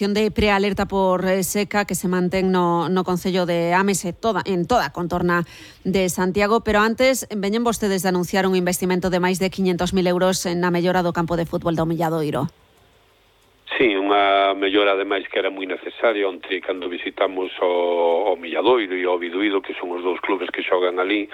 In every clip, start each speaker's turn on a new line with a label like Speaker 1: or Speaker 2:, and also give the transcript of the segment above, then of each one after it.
Speaker 1: De prealerta por seca que se mantén no Concello de Ames en toda a contorna de Santiago, pero antes veñen vostedes de anunciar un investimento de máis de 500.000 euros na mellora do campo de fútbol do Milladoiro.
Speaker 2: Sí, unha mellora ademais que era moi necesaria onte cando visitamos o Milladoiro e o Biduído, que son os dous clubes que xogan ali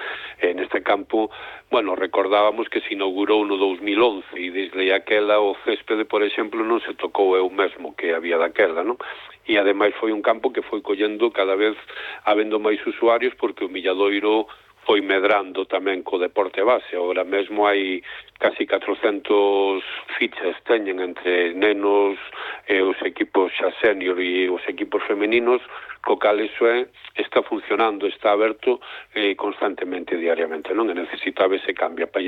Speaker 2: neste campo. Bueno, recordábamos que se inaugurou no 2011 e desde aquela o céspede, por exemplo, non se tocou eu mesmo que había daquela, non? E ademais foi un campo que foi collendo cada vez habendo máis usuarios porque o Milladoiro foi medrando tamén co deporte base. Agora mesmo hai casi 400 fichas teñen entre nenos e os equipos xa senior e os equipos femeninos, co cal iso está funcionando, está aberto constantemente, diariamente, non? E necesitaba ese cambio. Para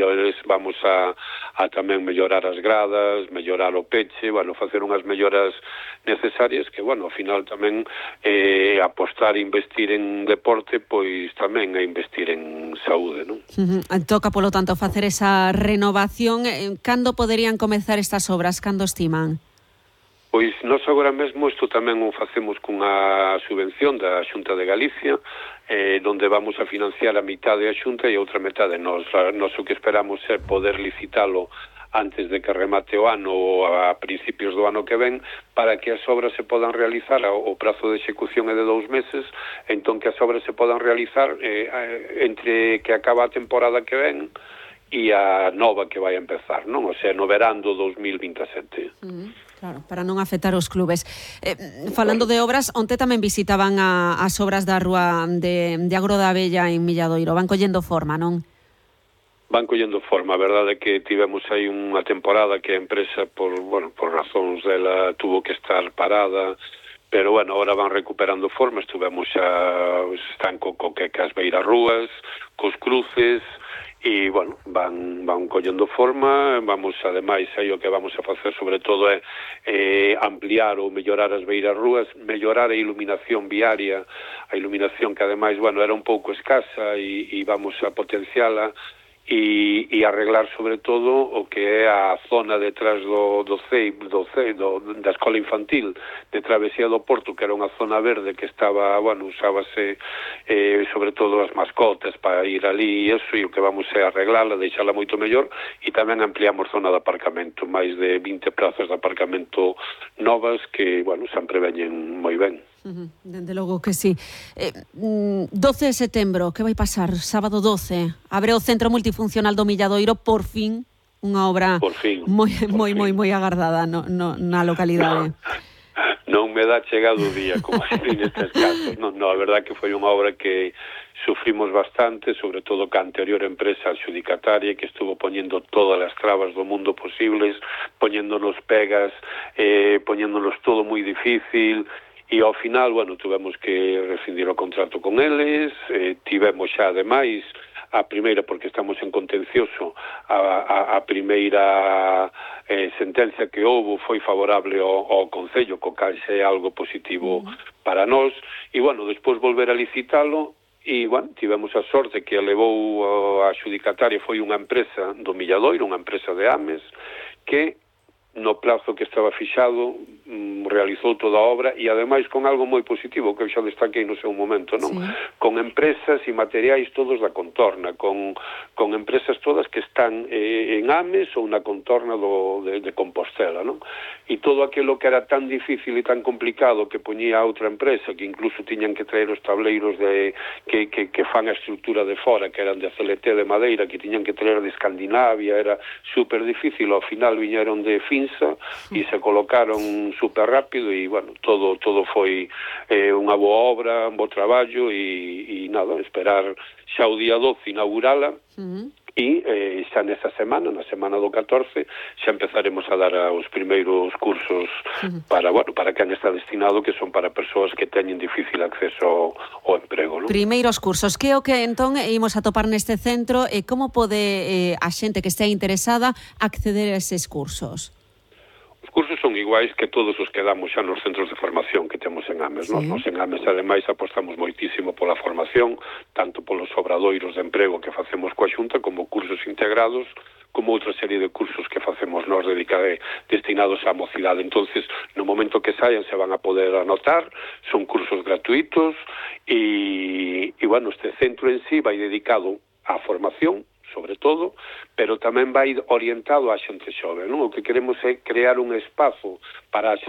Speaker 2: vamos a tamén mellorar as gradas, mellorar o peche, bueno, facer unhas melloras necesarias que, bueno, ao final tamén apostar e investir en deporte, pois tamén é investir en saúde, non?
Speaker 1: Toca, polo tanto, facer esa renovación. Cando poderían comezar estas obras? Cando estiman?
Speaker 2: Pois nós agora mesmo isto tamén o facemos cunha subvención da Xunta de Galicia, donde vamos a financiar a mitad da Xunta e a outra metade nós o que esperamos é poder licitalo antes de que remate o ano ou a principios do ano que ven, para que as obras se podan realizar. O prazo de execución é de 2 meses, entón que as obras se podan realizar entre que acaba a temporada que ven e a nova que vai a empezar, non? O sea, no verán do 2027.
Speaker 1: Claro, para non afectar os clubes. Falando de obras, onte tamén visitaban as obras da rúa de Agro da Abella en Milladoiro. Van collendo forma, non?
Speaker 2: Van collendo forma. A verdade é que tivemos aí unha temporada que a empresa, por razóns dela, tuvo que estar parada, pero, bueno, ahora van recuperando forma. Estuvemos están co que as beiras rúas, cos cruces, e, bueno, van collendo forma. Vamos, ademais, aí o que vamos a facer sobre todo é ampliar ou mellorar as beiras rúas, mellorar a iluminación viaria, a iluminación que, ademais, bueno, era un pouco escasa e vamos a potenciala, e arreglar sobre todo o que é a zona detrás do CEIP, da escola infantil de Travesía do Porto, que era unha zona verde que estaba, bueno, usábase sobre todo as mascotas para ir ali e eso, e o que vamos é arreglala, deixala moito mellor, e tamén ampliamos zona de aparcamento, máis de 20 plazas de aparcamento novas que, bueno, sempre veñen moi ben.
Speaker 1: Dende logo que sí. 12 de setembro, que vai pasar? Sábado 12, abre o Centro Multifuncional do Milladoiro, por fin, unha obra moi agardada na localidade.
Speaker 2: Non me dá chegado o día, como sempre nestes casos. Non, a verdad que foi unha obra que sufrimos bastante, sobre todo ca anterior empresa adxudicataria, que estuvo poñendo todas as trabas do mundo posibles, poñéndonos pegas, poñéndonos todo moi difícil. E ao final, bueno, tuvemos que rescindir o contrato con eles, tivemos xa, ademais, a primeira, porque estamos en contencioso, a primeira sentencia que houve foi favorable ao Concello, co cal é algo positivo para nós, e, bueno, despois volver a licitalo, e, bueno, tivemos a sorte que a levou a adxudicataria foi unha empresa do Milladoiro, unha empresa de Ames, que no plazo que estaba fixado realizou toda a obra, e ademais con algo moi positivo que eu xa destaquei no seu momento, non? Sí. Con empresas e materiais todos da contorna, con empresas todas que están en Ames ou na contorna de Compostela, non? E todo aquilo que era tan difícil e tan complicado que poñía a outra empresa, que incluso tiñan que traer os tableiros que fan a estrutura de fora, que eran de CLT de madeira, que tiñan que traer de Escandinavia, era super difícil, ao final viñeron de Finsa e se colocaron super rápido, e, bueno, todo foi unha boa obra, un bo traballo, e nada, esperar xa o día 12 inaugurala, e xa nesa semana, na semana do 14, xa empezaremos a dar os primeiros cursos para quen está destinado, que son para persoas que teñen difícil acceso ao emprego, non?
Speaker 1: Primeiros cursos, que o que entón imos a topar neste centro, e como pode a xente que estea interesada acceder a eses cursos?
Speaker 2: Os cursos son iguais que todos os que damos xa nos centros de formación que temos en Ames, non? Nos en Ames, ademais, apostamos moitísimo pola formación, tanto polos obradoiros de emprego que facemos coa Xunta, como cursos integrados como outra serie de cursos que facemos nós destinados á mocidade. Entonces, no momento que saian se van a poder anotar, son cursos gratuitos e bueno, este centro en sí vai dedicado á formación, sobre todo, pero tamén vai orientado á xente xove, non? O que queremos é crear un espazo para a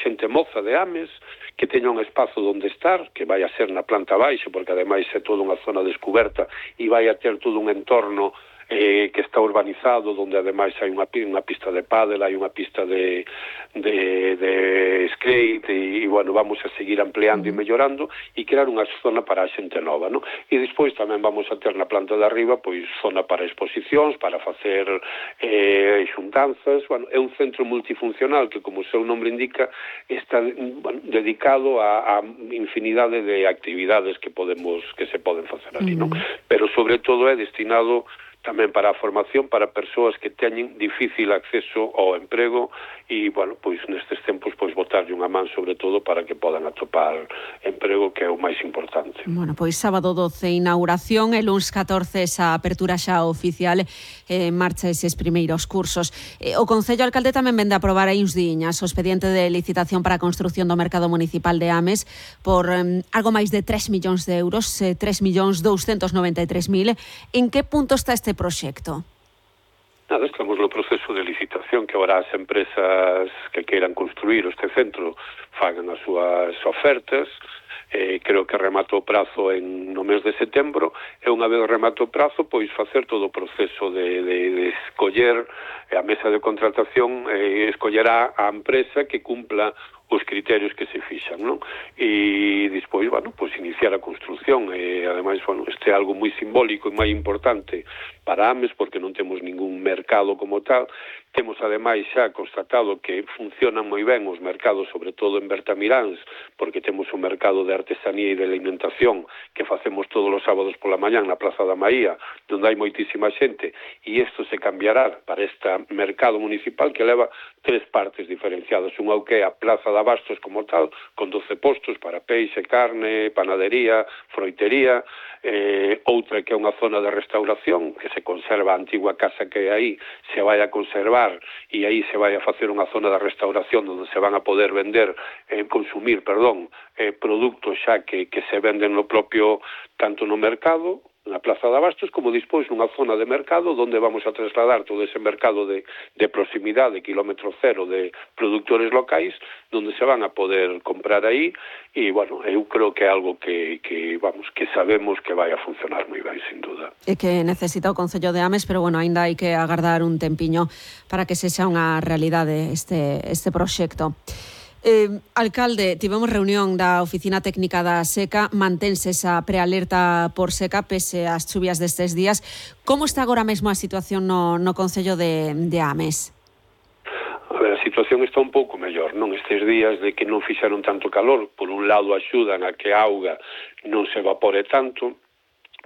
Speaker 2: xente moza de Ames, que teña un espazo onde estar, que vai a ser na planta baixa, porque ademais é toda unha zona descoberta e vai a ter todo un entorno que está urbanizado, onde ademais hai unha pista de pádel, hai unha pista de skate e bueno, vamos a seguir ampliando e mellorando e crear unha zona para a xente nova, non? E despois tamén vamos a ter na planta de arriba pois zona para exposicións, para facer xuntanzas, bueno, é un centro multifuncional que, como o seu nome indica, está dedicado a infinidade de actividades que se poden facer ali, non? Pero sobre todo é destinado tamén para a formación para persoas que teñen difícil acceso ao emprego e, bueno, pois nestes tempos pois botarlle unha man sobre todo para que podan atopar emprego, que é o máis importante.
Speaker 1: Bueno, pois sábado 12 inauguración, e luns 14 esa apertura xa oficial, marcha eses primeiros cursos. O Concello Alcalde tamén vende a aprobar aí uns diñas o expediente de licitación para a construción do mercado municipal de Ames por algo máis de 3 millóns de euros, 3.293.000. En que punto está este proxecto?
Speaker 2: Nada, estamos no proceso de licitación que ahora as empresas que queiran construir este centro fagan as súas ofertas. Creo que remato o prazo no mes de setembro e unha vez remato o prazo pois facer todo o proceso de escoller a mesa de contratación, escollerá a empresa que cumpla os criterios que se fixan, non? E despois, bueno, pois iniciar a construción. Ademais, bueno, este é algo moi simbólico e moi importante para Ames, porque non temos ningún mercado como tal. Temos, ademais, xa constatado que funcionan moi ben os mercados, sobre todo en Bertamiráns, porque temos un mercado de artesanía e de alimentación que facemos todos os sábados pola mañán na Praza da Maía, onde hai moitísima xente, e isto se cambiará para este mercado municipal que leva 3 partes diferenciadas. Unha que é a Plaza de Abastos como tal, con 12 postos para peixe, carne, panadería, froitería, outra que é unha zona de restauración, que se conserva a antigua casa que aí, se vai a conservar e aí se vai a facer unha zona de restauración onde se van a poder consumir produtos xa que se venden no propio, tanto no mercado, na Plaza de Abastos, como despois nunha zona de mercado onde vamos a trasladar todo ese mercado de proximidade, kilómetro cero, de productores locais, onde se van a poder comprar aí e, bueno, eu creo que é algo que sabemos que vai a funcionar moi ben, sin duda.
Speaker 1: E que necesita o Concello de Ames, pero, bueno, aínda hai que agardar un tempiño para que sexa unha realidade este proxecto. Alcalde, tivemos reunión da Oficina Técnica da Seca, mantense esa prealerta por seca pese ás chuvias destes días. Como está agora mesmo a situación no Concello de Ames?
Speaker 2: A ver, a situación está un pouco mellor, non? Estes días de que non fixaron tanto calor, por un lado axudan a que a auga non se evapore tanto,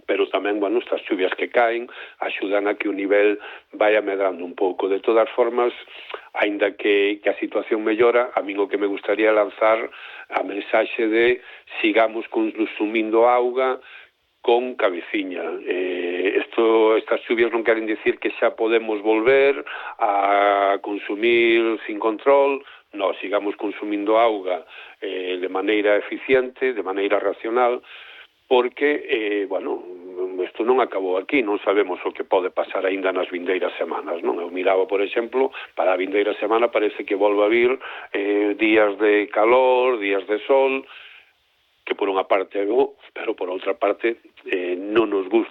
Speaker 2: pero tamén, bueno, estas chuvias que caen axudan a que o nivel vaya medrando un pouco. De todas formas, aínda que a situación mellora, a min o que me gustaría lanzar a mensaxe de sigamos consumindo auga con cabeciña. Estas chuvias non queren dicir que xa podemos volver a consumir sin control. No, sigamos consumindo auga de maneira eficiente, de maneira racional, porque, bueno, isto non acabou aquí, non sabemos o que pode pasar aínda nas vindeiras semanas, non? Eu miraba, por exemplo, para a vindeira semana parece que volva a vir días de calor, días de sol, que por unha parte é bo, pero por outra parte non nos gusta